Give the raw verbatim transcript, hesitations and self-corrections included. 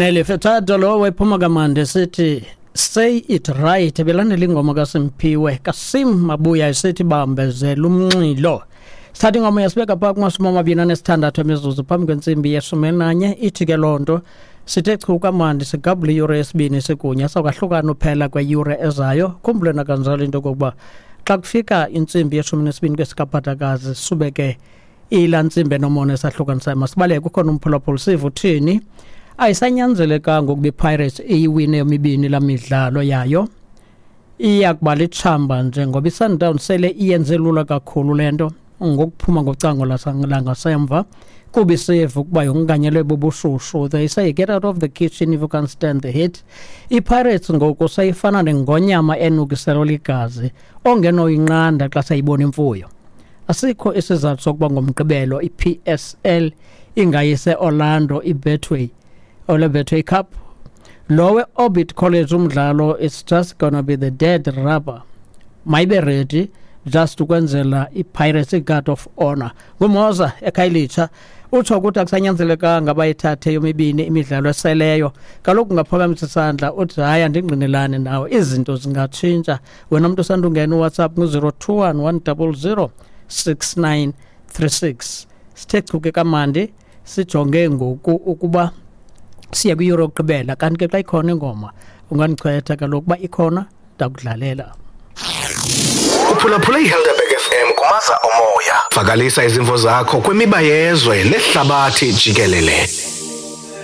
Nelly Furtado lo wephuma kamandi sithi "Say It Right". Belandela ingoma kaSimphiwe kaSim Mabuya esithi "Bambezela Umnxilo". Sithatha ingoma yasibeka phaa kumashumi amabini anesithandathu emizuzu phambi kwentsimbi yeshumi elinanye. Ithi ke loo nto sithe chu kamandi, sigabule iyure yesibini sikunye, sawukwahlukana uphela kweyure ezayo. Khumbule nakanjalo into yokokuba xa kufika intsimbi yeshumi nesibini kwesikaphathakazi, sube ke ilaa ntsimbi enomona esahlukanisayo. Masibaleke, kukhona umphulaphula, sive uthini. Ayisanyanzelekanga ukuba iPirates iyiwine yomibini laa midlalo yayo, iya kuba litshamba nje ngoba iSundown sele iyenze lula kakhulu le nto ngokuphuma ngocango langasemva, kuba isiva ukuba yonganyelwe bubushushu. They say, "Get out of the kitchen if you can't stand the heat." IPirates ngoku seyifana nengonyama enukiselwa ligazi ongenoyinqanda xa seyibona imfuyo. Asikho isizathu sokuba ngoMgqibelo i-P S L ingayise Orlando iBetway ole Betway Cup. Lowe Orbit College umdlalo, it's just gonna be the dead rubber. Mayibe ready just ukwenzela iPirates i-guard of honor. Ngumoza eKhayelitsha utsho ukuthi akusanyanzelekanga bayithathe yomibini imidlalo eseleyo. Kaloku ungaphakamisa isandla uthi, "Hayi, andingqinelani nawe, izinto zingatshintsha." Wena mntu usandungena uWhatsApp ngu-zero two one one double zero six nine three six. Sithe chuke kamandi, sijonge ngoku ukuba siye kwiyure yokugqibela. Kanti ke xa ikhona ingoma ungandichwetha kaloku, uba ikhona ndakudlalela. Uphulaphula iHelderberg F M kumaza omoya. Vakalisa izimvo zakho kwimiba yezwe nehlabathi jikelele.